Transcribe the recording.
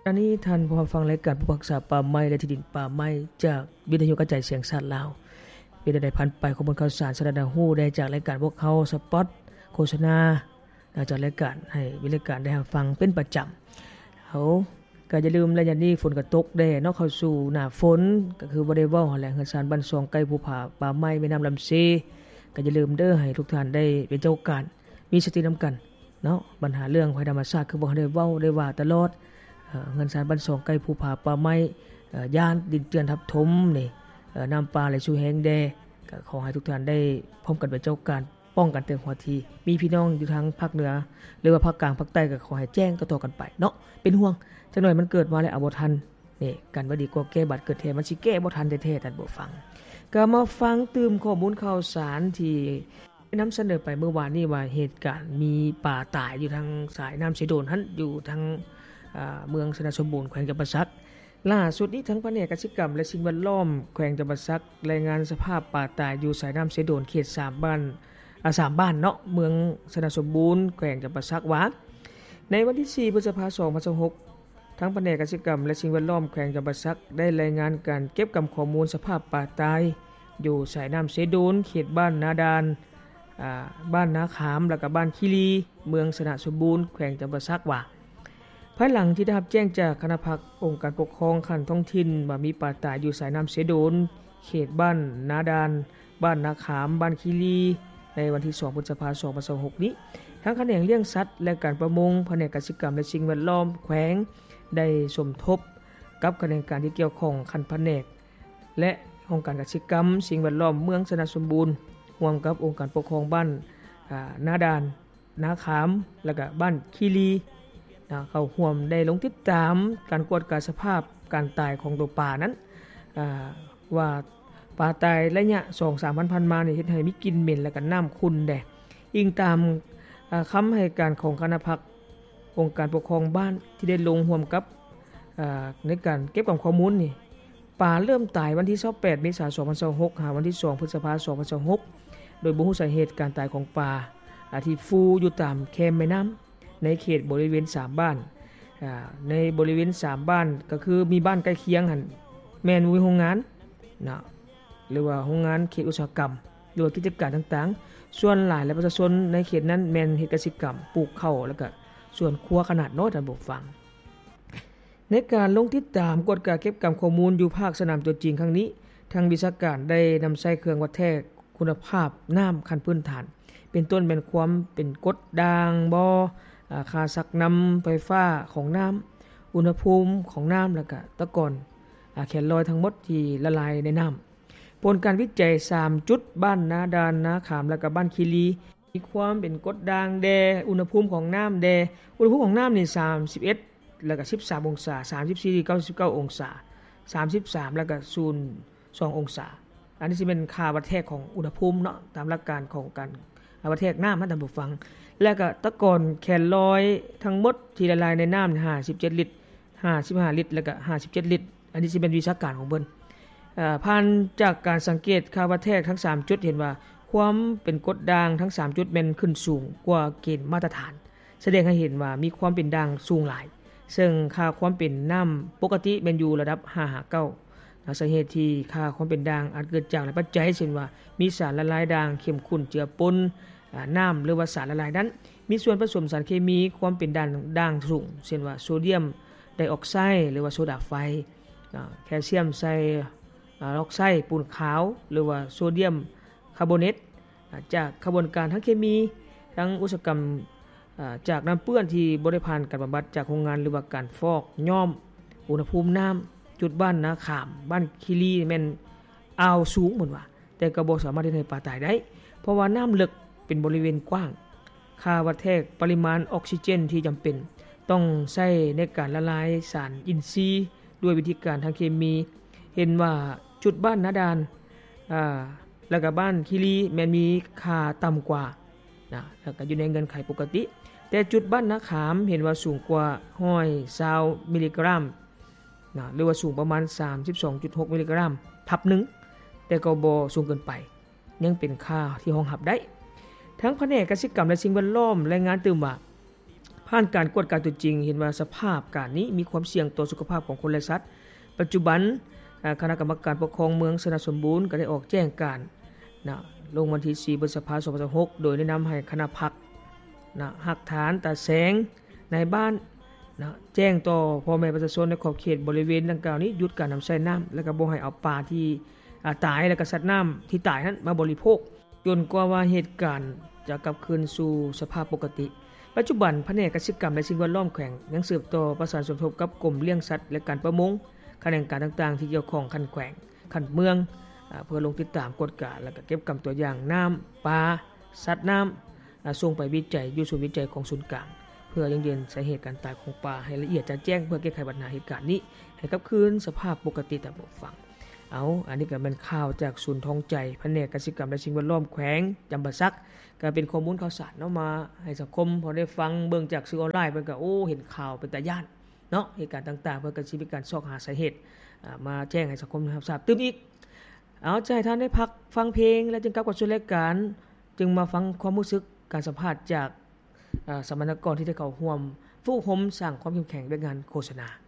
ອັນນີ້ທ່ານຜູ້ຮັບຟັງລາຍການຜູ້ຮັກສາປ່າໄມ້ ແລະ ທີ່ດິນປ່າໄມ້ ຈາກວິທະຍຸກະຈາຍສຽງສາດລາວ. ເປັນແນວໃດຜ່ານໄປຂໍ້ມູນຂ່າວສານສາທາລະນະຮູ້ແດ່ຈາກລາຍການພວກເຮົາ ສະປອດ ໂຄສະນາ ຈາກລາຍການໃຫ້ມີລາຍການໄດ້ຮັບຟັງເປັນປະຈຳ. ເຮົາ ກໍຢ່າລືມ ໄລຍະນີ້ຝົນກໍຕົກແດ່ເນາະ ເຂົ້າສູ່ໜ້າຝົນ ກໍຄືບໍ່ໄດ້ເວົ້າຫັ້ນແຫຼະ ເຮືອນຊານບ້ານຊ່ອງ ໃກ້ພູຜາປ່າໄມ້ ແມ່ນ້ຳລຳເຊ ກໍຢ່າລືມເດີ ໃຫ້ທຸກທ່ານໄດ້ເປັນເຈົ້າການ ມີສະຕິນຳກັນເນາະ. ບັນຫາເລື່ອງໄພທຳມະຊາດ ຄືບໍ່ໄດ້ເວົ້າໄດ້ວ່າຕະຫຼອດ ເອີ ເຮືອນຊານບ້ານຊ່ອງ ໃກ້ພູຜາປ່າໄມ້ ເອີ ຢ້ານດິນເຈື່ອນທັບຖົມນີ້ ເອີ ນ້ຳປ່າໄຫຼສູ່ແຮງແດ່ ກໍຂໍໃຫ້ທຸກທ່ານໄດ້ພ້ອມກັນເປັນເຈົ້າການ ປ້ອງກັນເຖິງຫົວທີ ມີພີ່ນ້ອງຢູ່ທາງພາກເໜືອ ຫຼືວ່າພາກກາງພາກໃຕ້ ກໍຂໍໃຫ້ແຈ້ງຕໍ່ໆກັນໄປເນາະ. ເປັນຫ່ວງ ຈັກໜ້ອຍມັນເກີດມາແລ້ວເອົາບໍ່ທັນ ນີ້ ກັນໄວ້ດີກວ່າແກ້ບາດເກີດແທ້ ມັນຊິແກ້ບໍ່ທັນແທ້ໆ ທ່ານຜູ້ຟັງ. ກໍມາຟັງຕື່ມຂໍ້ມູນຂ່າວສານທີ່ນຳສະເໜີໄປມື້ວານນີ້ວ່າ ເຫດການມີປາຕາຍຢູ່ທາງສາຍນ້ຳເຊໂດນຫັ້ນ ຢູ່ທາງ ເອີ ເມືອງຊະນະສົມບູນ ແຂວງຈຳປາສັກ. ຫຼ້າສຸດນີ້ ທາງພະແນກກະສິກຳ ແລະ ສິ່ງແວດລ້ອມ ແຂວງຈຳປາສັກ ລາຍງານສະພາບປາຕາຍຢູ່ສາຍນ້ຳເຊໂດນ ເຂດສາມບ້ານ ອາ ສາມບ້ານເນາະ ເມືອງຊະນະສົມບູນ ແຂວງຈຳປາສັກວ່າ ໃນວັນທີສີ່ ພຶດສະພາ ສອງພັນຊາວຫົກ ທາງພະແນກກະສິກຳ ແລະ ສິ່ງແວດລ້ອມ ແຂວງຈຳປາສັກ ໄດ້ລາຍງານການເກັບກຳຂໍ້ມູນສະພາບປາຕາຍ ຢູ່ສາຍນ້ຳເຊໂດນ ເຂດບ້ານນາດານ ອາ ບ້ານນາຂາມ ແລະ ກະບ້ານຄີລີ ເມືອງຊະນະສົມບູນ ແຂວງຈຳປາສັກວ່າ ພາຍຫຼັງທີ່ໄດ້ຮັບແຈ້ງຈາກຄະນະພັກອົງການປົກຄອງຂັ້ນທ້ອງຖິ່ນວ່າມີປາຕາຍຢູ່ສາຍນ້ຳເຊໂດນ ເຂດບ້ານນາດານ ບ້ານນາຂາມ ບ້ານຄີລີ ໃນວັນທີສອງ ພຶດສະພາ ສອງພັນຊາວຫົກນີ້ ທາງຂະແໜງລ້ຽງສັດ ແລະ ການປະມົງ ພະແນກກະສິກຳ ແລະ ສິ່ງແວດລ້ອມແຂວງ ໄດ້ສົມທົບກັບຂະແໜງການທີ່ກ່ຽວຂ້ອງຂັ້ນພະແນກ ແລະ ຫ້ອງການກະສິກຳ ສິ່ງແວດລ້ອມເມືອງຊະນະສົມບູນ ຮ່ວມກັບອົງການປົກຄອງບ້ານ ອາ ນາດານ ນາຂາມ ແລະ ກະບ້ານຄີລີ ນະ ເຂົ້າຮ່ວມໄດ້ລົງຕິດຕາມການກວດກາສະພາບການຕາຍຂອງໂຕປານັ້ນ ອາ ວ່າປາຕາຍໄລຍະສອງສາມວັນຜ່ານມານີ້ ເຮັດໃຫ້ມີກິ່ນເໝັນ ແລະ ກະນ້ຳຂຸ່ນແດ່. ອີງຕາມ ອາ ຄຳໃຫ້ການຂອງຄະນະພັກອົງການປົກຄອງບ້ານ ທີ່ໄດ້ລົງຮ່ວມກັບ ອາ ໃນການເກັບກຳຂໍ້ມູນນີ້ ປາເລີ່ມຕາຍວັນທີຊາວແປດ ເມສາ ສອງພັນຊາວຫົກ ຫາວັນທີສອງ ພຶດສະພາ ສອງພັນຊາວຫົກ ໂດຍບໍ່ຮູ້ສາເຫດການຕາຍຂອງປາ ອາ ທີ່ຟູຢູ່ຕາມແຄມແມ່ນ້ຳ ໃນເຂດບໍລິເວນສາມບ້ານ ອາ ໃນບໍລິເວນສາມບ້ານ ກໍຄືມີບ້ານໃກ້ຄຽງຫັ້ນ ແມ່ນມີໂຮງງານເນາະ ຫຼືວ່າໂຮງງານເຂດອຸດສາຫະກຳ ຫຼືວ່າກິດຈະການຕ່າງໆ. ສ່ວນຫຼາຍແລ້ວປະຊາຊົນໃນເຂດນັ້ນແມ່ນເຮັດກະສິກຳ ປູກເຂົ້າ ແລ້ວກະສວນຄົວຂະໜາດນ້ອຍ ທ່ານຜູ້ຟັງ. ໃນການລົງຕິດຕາມກວດກາເກັບກຳຂໍ້ມູນຢູ່ພາກສະໜາມຕົວຈິງຄັ້ງນີ້ ທາງວິຊາການໄດ້ນຳໃຊ້ເຄື່ອງວັດແທກຄຸນນະພາບນ້ຳຂັ້ນພື້ນຖານ ເປັນຕົ້ນແມ່ນຄວາມເປັນກົດດ່າງບໍ່, ອາ, ຄ່າຊັກນຳໄຟຟ້າຂອງນ້ຳ, ອຸນຫະພູມຂອງນ້ຳ ແລະ ກະຕະກອນ, ອາ, ແຄນລອຍທັງໝົດທີ່ລະລາຍໃນນ້ຳ. ຜົນການວິໄຈສາມຈຸດ ບ້ານນາດານ, ນາຂາມ ແລະ ກະບ້ານຄີລີ ມີຄວາມເປັນກົດດ່າງແດ່, ອຸນຫະພູມຂອງນ້ຳແດ່. ອຸນຫະພູມຂອງນ້ຳນີ້ ສາມສິບເອັດ ແລ້ວກະ ສິບສາມ ອົງສາ, ສາມສິບສີ່ ເກົ້າສິບເກົ້າ ອົງສາ, ສາມສິບສາມ ແລ້ວກະ ສູນສອງ ອົງສາ. ອັນນີ້ຊິແມ່ນຄ່າວັດແທກຂອງອຸນຫະພູມເນາະ, ຕາມຫຼັກການຂອງການ ອາ, ວັດແທກນ້ຳນະ ທ່ານຜູ້ຟັງ. ແລ້ວກະຕະກອນແຄນລອຍທັງໝົດທີ່ລະລາຍໃນນ້ຳ ຫ້າສິບເຈັດລິດ, ຫ້າສິບຫ້າລິດ ແລ້ວກະ ຫ້າສິບເຈັດລິດ. ອັນນີ້ຊິແມ່ນວິຊາການຂອງເພິ່ນ. ເອີ ຜ່ານຈາກການສັງເກດຄ່າວັດແທກທັງສາມຈຸດ ເຫັນວ່າຄວາມເປັນກົດດ່າງທັງສາມຈຸດແມ່ນຂຶ້ນສູງກວ່າເກນມາດຕະຖານ, ສະແດງໃຫ້ເຫັນວ່າມີຄວາມເປັນດ່າງສູງຫຼາຍ, ເຊິ່ງຄ່າຄວາມເປັນນ້ຳປົກກະຕິແມ່ນຢູ່ລະດັບຫ້າຫາເກົ້າ. ສາເຫດທີ່ຄ່າຄວາມເປັນດ່າງອາດເກີດຈາກຫຼາຍປັດໄຈ, ເຊັ່ນວ່າມີສານລະລາຍດ່າງ, ເຂັ້ມຂຸ້ນເຈືອປົນ, ອາ, ນ້ຳ ຫຼືວ່າສານລະລາຍນັ້ນ ມີສ່ວນປະສົມສານເຄມີຄວາມເປັນດ່າງ, ດ່າງສູງ, ເຊັ່ນວ່າໂຊດຽມໄດອອກໄຊ ຫຼືວ່າໂຊດາໄຟ, ອາ, ແຄລຊຽມໄຊ, ອາ, ອອກໄຊ ປູນຂາວ ຫຼືວ່າໂຊດຽມຄາໂບເນດ, ອາ, ຈາກຂະບວນການທາງເຄມີ, ທາງອຸດສາຫະກຳ, ອາ, ຈາກນ້ຳເປື້ອນທີ່ບໍ່ໄດ້ຜ່ານການບຳບັດຈາກໂຮງງານ ຫຼືວ່າການຟອກຍ້ອມ, ອຸນຫະພູມນ້ຳ, ຈຸດບ້ານນາຂາມ, ບ້ານຄີລີ ແມ່ນອ່າວສູງ ເພິ່ນວ່າ. ແຕ່ກໍບໍ່ສາມາດເຮັດໃຫ້ປາຕາຍໄດ້ ເພາະວ່ານ້ຳເລິກເປັນບໍລິເວນກວ້າງ. ຄ່າວັດແທກປະລິມານອອກຊີເຈນທີ່ຈຳເປັນຕ້ອງໃຊ້ໃນການລະລາຍສານອິນຊີດ້ວຍວິທີການທາງເຄມີ ເຫັນວ່າຈຸດບ້ານນາດານ ອາ ແລ້ວກະບ້ານຄີລີແມ່ນມີຄ່າຕ່ຳກວ່ານະ ແລ້ວກະຢູ່ໃນເງື່ອນໄຂປົກກະຕິ. ແຕ່ຈຸດບ້ານນາຂາມເຫັນວ່າສູງກວ່າຮ້ອຍຊາວມິລລິກຣາມ ນະ ຫຼືວ່າສູງປະມານສາມສິບສອງຈຸດຫົກມິລລິກຣາມທັບໜຶ່ງ ແຕ່ກໍບໍ່ສູງເກີນໄປ, ຍັງເປັນຄ່າທີ່ຮອງຮັບໄດ້. ທາງພະແນກກະສິກຳ ແລະ ສິ່ງແວດລ້ອມລາຍງານຕື່ມວ່າ ພ ຜ່ານການກວດກາຕົວຈິງ ເຫັນວ່າສະພາບການນີ້ມີຄວາມສ່ຽງຕໍ່ສຸຂະພາບຂອງຄົນ ແລະ ສັດ. ປັດຈຸບັນ ອາ ຄະນະກຳມະການປົກຄອງເມືອງຊະນະສົມບູນ ກໍໄດ້ອອກແຈ້ງການນະ ລົງວັນທີສີ່ ພຶດສະພາ ສອງພັນຊາວຫົກ ໂດຍແນະນຳໃຫ້ຄະນະພັກນະ ຮາກຖານ ຕາແສງ ນາຍບ້ານນະ ແຈ້ງຕໍ່ພໍ່ແມ່ປະຊາຊົນໃນຂອບເຂດບໍລິເວນດັ່ງກ່າວນີ້ ຢຸດການນຳໃຊ້ນ້ຳ ແລະ ກໍບໍ່ໃຫ້ເອົາປາທີ່ ອາ ຕາຍ ແລະ ກໍສັດນ້ຳທີ່ຕາຍນັ້ນມາບໍລິໂພກ ຈົນກວ່າວ່າເຫດການຈະກັບຄືນສູ່ສະພາບປົກກະຕິ. ປັດຈຸບັນ ພະແນກກະສິກຳ ແລະ ສິ່ງແວດລ້ອມແຂວງ ຍັງສືບຕໍ່ປະສານສົມທົບກັບກົມລ້ຽງສັດ ແລະ ການປະມົງ, ຂະແໜງການຕ່າງໆທີ່ກ່ຽວຂ້ອງຂັ້ນແຂວງ, ຂັ້ນເມືອງ ເພື່ອລົງຕິດຕາມ, ກວດກາ ແລະ ກໍເກັບກຳຕົວຢ່າງນ້ຳ, ປາ, ສັດນ້ຳ ສົ່ງໄປວິໄຈຢູ່ສູນວິໄຈຂອງສູນກາງ ເພື່ອຢັ້ງຢືນສາເຫດການຕາຍຂອງປາໃຫ້ລະອຽດຈະແຈ້ງ ເພື່ອແກ້ໄຂບັນຫາເຫດການນີ້ໃຫ້ກັບຄືນສະພາບປົກກະຕິຕາມເຮົາຟັງ. ເອົາ ອັນນີ້ກໍແມ່ນຂ່າວຈາກສູນທອງໃຈ ພະແນກກະສິກຳ ແລະ ສິ່ງແວດລ້ອມແຂວງຈຳປາສັກ ກໍເປັນຂໍ້ມູນຂ່າວສານເນາະ ມາໃຫ້ສັງຄົມພໍໄດ້ຟັງເບິ່ງຈາກສື່ອອນລາຍ ເພິ່ນກໍ ໂອ້ ເຫັນຂ່າວເປັນຕາຢ້ານເນາະ ເຫດການຕ່າງໆ ເພິ່ນກໍຊິມີການຊອກຫາສາເຫດ ອາ ມາແຈ້ງໃຫ້ສັງຄົມໄດ້ຮັບຊາບຕື່ມອີກ. ເອົາ ຈະໃຫ້ທ່ານໄດ້ພັກຟັງເພງ ແລ້ວຈຶ່ງກັບເຂົ້າສູ່ລາຍການ ຈຶ່ງມາຟັງຄວາມຮູ້ສຶກການສຳພາດຈາກ ອາ ສຳມະນາກອນທີ່ໄດ້ເຂົ້າຮ່ວມຝຶກອົບຮົມສ້າງຄວາມເຂັ້ມແຂງວຽກງານໂຄສະນາ.